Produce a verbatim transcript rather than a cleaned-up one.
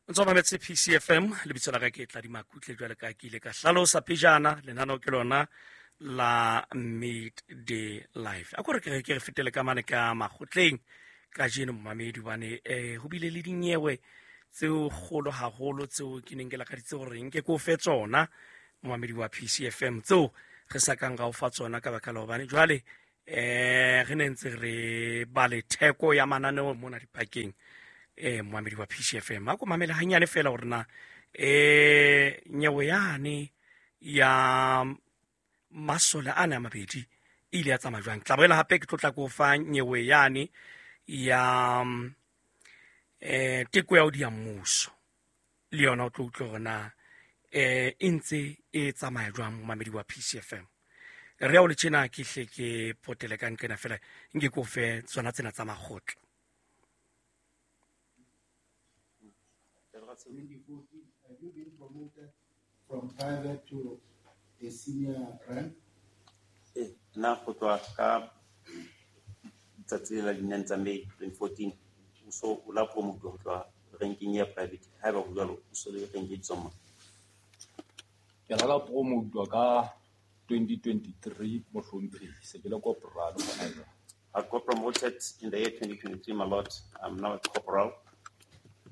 O ntso mametse P C F M. Lebitso la ka ke Tladi Makutle. Jwale ka ke ile ka hlalosa pejana, lenaneo ke lona la Midday Live. A ko re ke re ke re fetele ka mane ka makgotleng kajeno, momamedi, hobane um ho bile le dinyewe tseo kgolo haholo tseo ke neng ke lakaditse hore nke ke o fe tsona, momamedi wa P C F M, tseo re sa kang ra o fa tsona ka baka la hobane jwale eh re ne ntse re ba le theko ya mananeo mona dipakeng. eh momamedi wa P C F M, a ko mamele hanyane fela hore na eh nyewe yane ya masole ana a mabedi e ile ya tsamaya jwang. Tla boela hape ke tlo tla ko fa nyewe yane ya eh teko ya ho diya mmuso, le yona o tlo utlwa hore na eh e ntse e tsamaya jwang. Momamedi wa P C F M, re ya o le tjena ke hle ke potele ka nqena fela nke ke o fe tsona tsena tsa makgotla. twenty fourteen, have you been promoted from private to a senior rank? Eh, nna go tloha ka tsatsi la di-nine tsa May twenty fourteen, o so o la promote ho tloha ranking ya private. Haeba ho jwalo, o so le rank e bitswang mang? Ke la ka promote ka twenty twenty-three, mohlomphehi, se ke le corporal hona jwale. I got promoted in the year twenty twenty-three, my lord. I'm now a corporal.